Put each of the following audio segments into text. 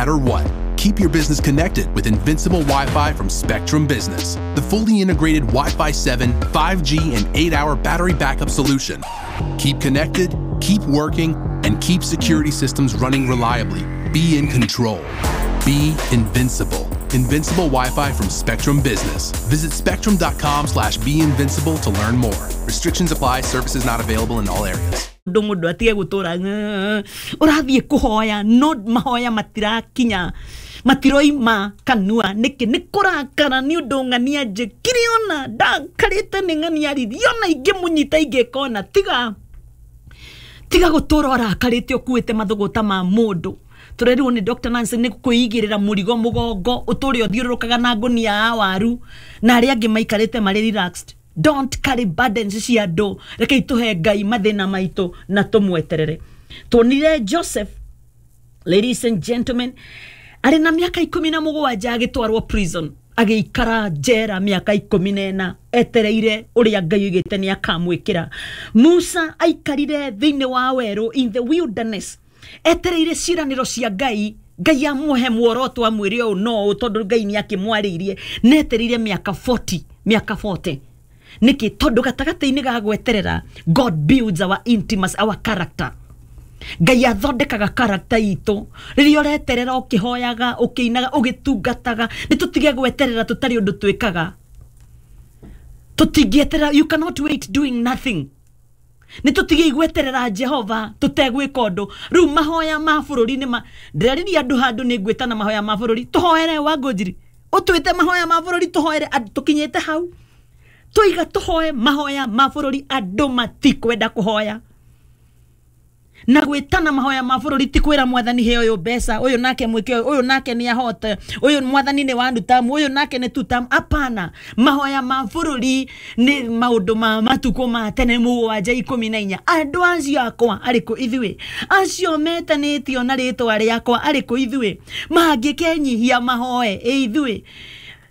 matter what. Keep your business connected with Invincible Wi-Fi from Spectrum Business, the fully integrated Wi-Fi 7, 5G, and 8-hour battery backup solution. Keep connected, keep working, and keep security systems running reliably. Be in control. Be invincible. Invincible Wi-Fi from Spectrum Business. Visit spectrum.com/beinvincible to learn more. Restrictions apply. Services not available in all areas. Ndå må ndå atige gå tå ra å rathiä kå hoya no mahoya matirakinya, matiroima kanua. Nĩkĩ? Nĩ kũrakara nĩ ũndũ ng'ania njĩkire, ona ndakarĩte nĩ ng'ania rithi, ona ingĩmũnyita ingĩkona. Tiga, tiga gũtũra ũrakarĩte ũkuĩte mathũgũta ma mũndũ. Tũrerirwo nĩ Dr. Nancy nĩ kwĩigĩrĩra mũrigo mũgongo, ũtũre ũthiũrũrũkaga na ngũnia ya waru na arĩa angĩ maikarĩte marĩ relaxed. Don't carry burdens cia andũ. Rekei tũhe Ngai mathĩna maitũ na tũmweterere. Tuonire Joseph, ladies and gentlemen, arĩ na mĩaka 17 agĩtwarwo prison, agĩikara njera mĩaka 14 etereire ũrĩa Ngai oigĩte nĩ akamwĩkĩra. Musa aikarire thĩinĩ wa werũ, in the wilderness, etereire ciĩranĩro cia Ngai. Ngai amũhe muoroto, amwĩre ũũ no ũũ, tondũ Ngai nĩ akĩmwarĩirie. Netereire mĩaka 40, mĩaka 40. Nĩkĩ? Tondũ gatagatĩ-inĩ ga gweterera, God builds our intimacy, our character. Ngai athondekaga character itũ rĩrĩa ũreterera, ũkĩhoyaga, ũkĩinaga, ũgĩtungataga. Nĩ tũtige gweterera tũtarĩ ũndũ twĩkaga. Tũtingĩeterera. You cannot wait doing nothing. Nĩ tũtige gweterera Jehova tũtegwĩka ũndũ. Rĩu mahoya ma bũrũri nĩ ma ndĩraririe andũ handũ nĩ ngwĩtana mahoya ma bũrũri tũhoere. Wangũnjiri ũtwĩte mahoya ma bũrũri tũhoere andũ, tũkinyĩte hau tũiga tũhoe mahoya ma bũrũri, andũ matikwenda kũhoya. Na gwĩtana mahoya ma bũrũri ti kwĩra Mwathani he ũyũ mbeca, ũyũ nake mwĩke ũyũ, ũyũ nake nĩ ahote, ũyũ Mwathani nĩ wa tamu, ũyũ nake nĩ tutamu. Hapana, mahoya ma bũrũri nĩ maũndũ ma matukũ ma tene 7:14. Andũ acio akwa arĩkũ ithuĩ, acio metanĩtio na rĩtwa rĩakwa arĩkũ ithuĩ, mangĩkenyihia mahoe ĩ ithuĩ,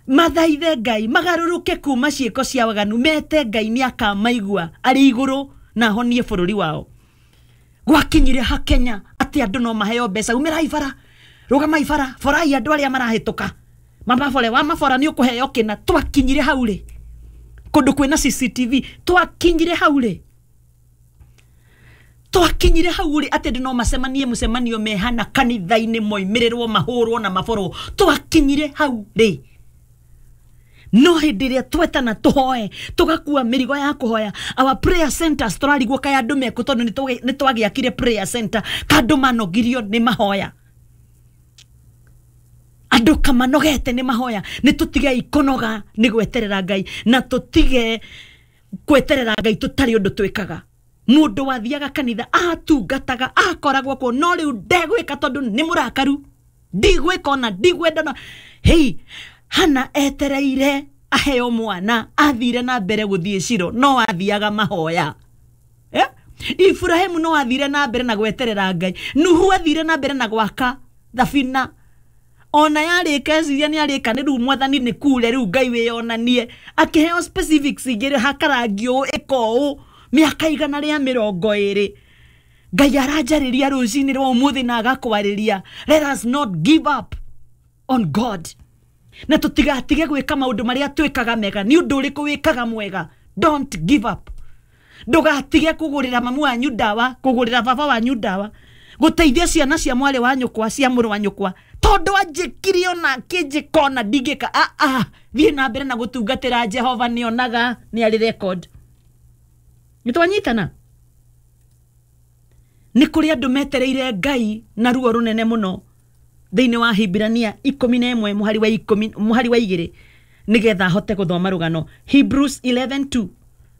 mathaithe Ngai, magarũrũke kuma ciĩko cia waganu, mete Ngai, nĩ akamaigua arĩ igũrũ na ahonie bũrũri wao. Gwakinyire ha Kenya atĩ andũ no maheo mbeca? Umĩrai bara, rũgamai bara, borai andũ arĩa marahĩtũka, mamabore wa mabora nĩ ũkũheo kĩna. Twakinyire hau rĩ kũndũ kwĩna CCTV? Twakinyire hau rĩ? Twakinyire hau rĩ atĩ andũ no macemanie mũcemanio mehana kanitha-inĩ, moimĩrĩrwo, mahũrwo na maborwo? Twakinyire hau rĩ? No hĩndĩ ĩrĩa twetana tũhoe, tũgakua mĩrigo ya kũhoya, our prayer centers, tũrarigwo kaĩ andũ mekũ, tondũ nĩ twagĩakire prayer center kandũ manogirio nĩ mahoya, andũ kamanogete nĩ mahoya. Nĩ tũtigei kũnoga nĩ gweterera Ngai, na tũtige gweterera Ngai tũtarĩ ũndũ twĩkaga. Mũndũ wathiaga kanitha, atungataga, akoragwo kuo, no rĩu ndegwĩka tondũ nĩ mũrakaru, ndigwĩka ona ndigwenda. No hei, Hana etereire aheo mwana, athire na mbere gũthiĩ Ciro, no athiaga mahoya, eh? Ibrahimu no athire na mbere na gweterera Ngai. Nuhu athire na mbere na gwaka thabina, ona yarĩka eciria nĩ arĩka, nĩ rĩu Mwathani nĩ kure, rĩu Ngai wĩyonanie, akĩheo specifics igĩrĩ, hakarangi ũũ, ĩka ũũ, mĩaka 120. Ngai aranjarĩria rũcinĩ rwa ũmũthĩ na agakwarĩria. Let us not give up on God, na tũtigatige gwĩka maũndũ marĩa twĩkaga mega. Nĩ ũndũ ũrĩkũ wĩkaga mwega? Don't give up. Ndũgatige kũgũrĩra mamu wanyu ndawa, kũgũrĩra baba wanyu ndawa, gũteithia ciana cia mwarĩ wa nyũkwa, cia mũrũ wa nyũkwa, tondũ anjĩkire ona kĩnjĩka ona ndingĩka. Ah, ah, thiĩ na mbere na gũtungatĩra Jehova, nĩonaga, nĩ arĩ record. Nĩ twanyitana? Nĩ kũrĩ andũ metereire Ngai na ruo rũnene mũno. Thĩinĩ wa Hibirania 11 mũhari wa 10, mũhari wa 2, nĩgetha ahote gũthoma rũgano, Hebrews 11:2,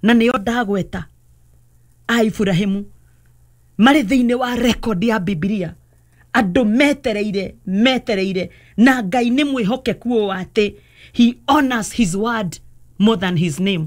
na nĩyo ndagweta a Iburahimu marĩ thĩinĩ wa record ya Bibilia, andũ metereire, metereire, na Ngai nĩ mwĩhokeku ũũ atĩ he honors his word more than his name.